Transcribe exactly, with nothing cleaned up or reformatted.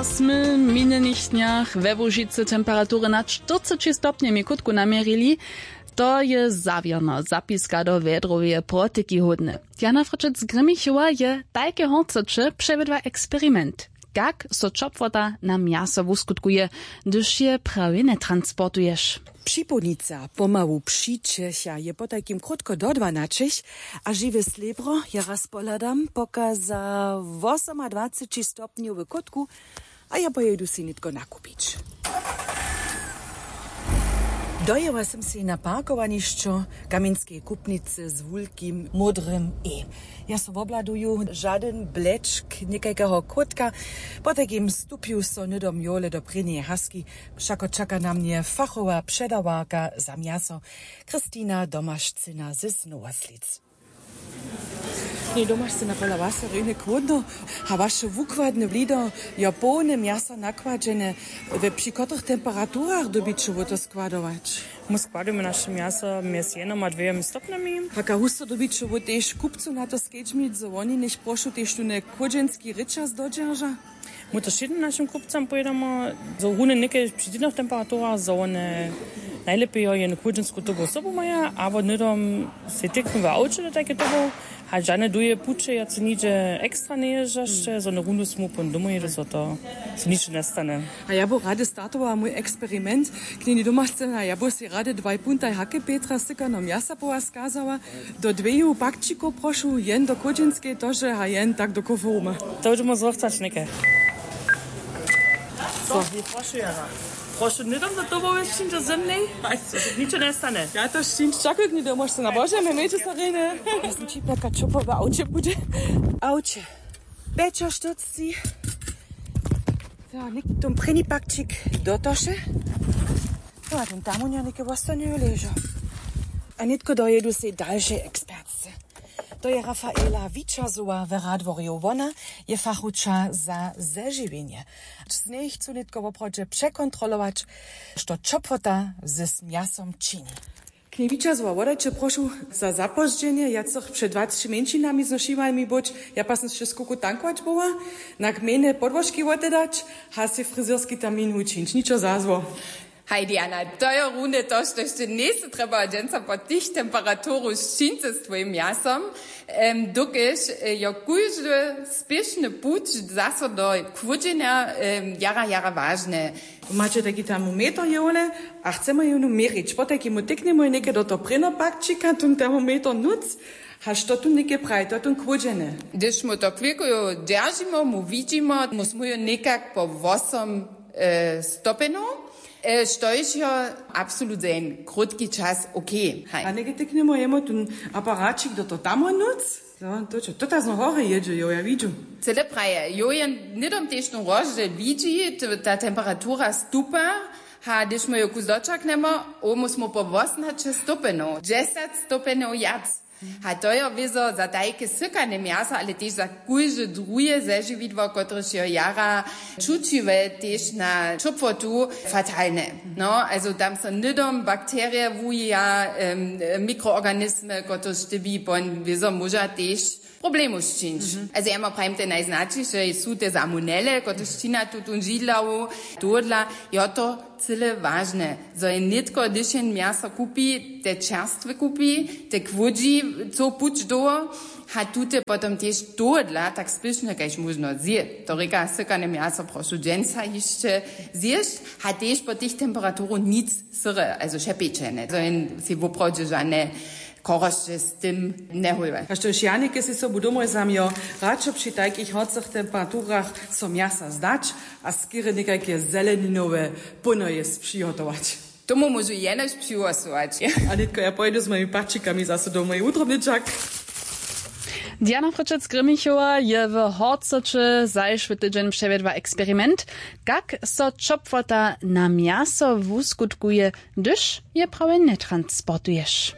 Smy w minjenych dnjach we Łužicy temperatury nad štyrceći stopnjemi kótku naměrili. To je zawěrno zapiska do wjedroweje protyki hódny. Jana Fryčec z Grimmichowa je tajke horcoće přewjedła eksperiment, kak so ćopłota na mjaso wuskutkuje, hdyž je prawje netransportuješ. Připołdnica pomału přićecha je potajkim krótko do dwanaćich, a žiwe slěbro, ja raz pohladam, poka za wosomadwaceći stopnjowy kótku. A ja pojědu sej nětko nakupić. Dojěła sym sej na parkowanišćo kamjenskeje kupnicy z wulkim módrym e. Ja so wobhladuju žadyn blečk někajkeho kótka. Potajkim stupju so hnydom jowle do prěnjeje haski. Wšako čaka na mnje fachowa předawarka za mjaso, Christina Domašcyna z Nowoslic. Knjej Domašcyna, pola was je rjenje chłódno, a waše wukładne blido jo połne mjasa nakładźene. We při kotrych temperaturach dyrbiće wót to składować? My składujemy naše mjaso mjez jednym a dwěmi stopnjami. Haka husto dyrbiće wót tež kupcu na to skedźmić, zo woni něch prošu tež tune chłódźenski rěčas dodźerža? My to wšědnym našim kupcam powědamy, zo runje někaj při dźědnych temperaturach, zo wone najlěpjejo jenu chłódźensku tobu sobu maja, abo hnydom sej tyknu w awće do tajke tobu, hač žane duje puće wjace nihdźe ekstra njejezdźaše, zo wone runje smu pón domoj jědu, zo to so ničo njestanje. A ja bu rady startowała mój eksperiment. Knjeni Domašcyna, ja bu sej rady dwaj puntaj hake Petra sykanom mjasa po was skazała. Do dweju pakćikow prošu, jen do chłódźenskej tože a jen tak do koforuma. To budźemy zrywcać někaj. Co? Prošu, Jara. Prošu, hnydom do tobołe, přińdźe ze mnej. Ničo njestanje. Ja to sćińć, čakuj, knjeni Domašcyna, na Bože, my měće so rjenje. Ja sam čipnjaka, čo po w awće budźe. Awće. Pjećaštyrcci. To, něk-, tón prěni pakćik do toše. To a tón tam něke wostanejo ležo. A nětko dojědu sej dalšej ekspertce. To je Rafaela Wičerzowa w Radworju. Wona je fachowča za zežiwjenje. Z njej chcu nětko woprawdźe překontrolować, što ćopłota z mjasom čini. Knjej Wičerzowa, wodajće prošu za zapozdźenje, ja chcych před dwaceći mjeńšinami z našimi być, ja pak sym sće skoku tankować była, na gmejne podłožki wotedać, a sej frizerski termin wučińć, ničo za zło. Haj, Diana, to je runje to, što hišće njejsy trjeba dźensa po tych temperaturu sćińcy z twojim mjasom, em, dokelž, e, jo kóždy spěšny puć zaso do chłódźenja, em, jara, jara wažne. Maće tajki termometer jewne a chcemy jewnu měrić. Potajki mu tyknjemy něke do toho prěnopakćika, tón termometer nóc, hač to tu něke praji, to je tón chłódźeny. Hdyž mu to chwilku jo dźeržimy, mu widźimy, mu smy jo někak po wosom, e, stopnjow, e, štož jo absolut za jen krótki čas okej. Haj. A něke tyknjemy jemu tón aparaćik do toho tamo nóc. No, to čo, to ta znowu horje jědźe, jo, ja widźu. Cyle praje, jo, jen hnydom tež tón rozdźěl widźi, t-, ta temperatura stupa, ha, hdyž my jo kus dočaknemo, o, my smo po wosomnaće stopnjow, dźesać stopnjow wjac. Ha, to jo wězo za tajke sykane mjaso, ale tež za kóžde druhe zežiwidło, kotrež jo jara čućiwe tež na ćopłotu, fatalne. No, also tam so hnydom bakterije wuja, em, mikroorganismy, kotrež ty bi pon wězo móža tež problemow sćińć. Mhm. Also ja ma prajim, te najznaćiše su te salmonele, kotrež čina tutón židlawu, tohodla, jo, to cyle wažne, zo je nětko, hdyž jen mjaso kupi, te čerstwe kupi, te chłódźi, co puć dołho, ha tute potom tež tohodla tak spěšne kaž móžno zje. To rěka, sykane mjaso prošu dźensa hišće zjěsć, ha tež po tych temperaturu nic syre, also wšepečene. Zo jen sej woprawdźe žane chorosće z tym njehójłe. A štož ja něke sej sobu domoj zamjo, radšo při tajkich horcych temperaturach so mjasa zdać a skerje někajke zeleninowe pónoje přihotować. Tomu móžu jenož přihłosować. A nětko ja pojědu z mojimi pačikami zaso domoj wutrobny čak. Diana Fryčec-Grimmichowa je w Horcoće zašły tydźeń přewjedła eksperiment, kak so ćopłota na mjaso wuskutkuje, hdyž je prawje netransportuješ.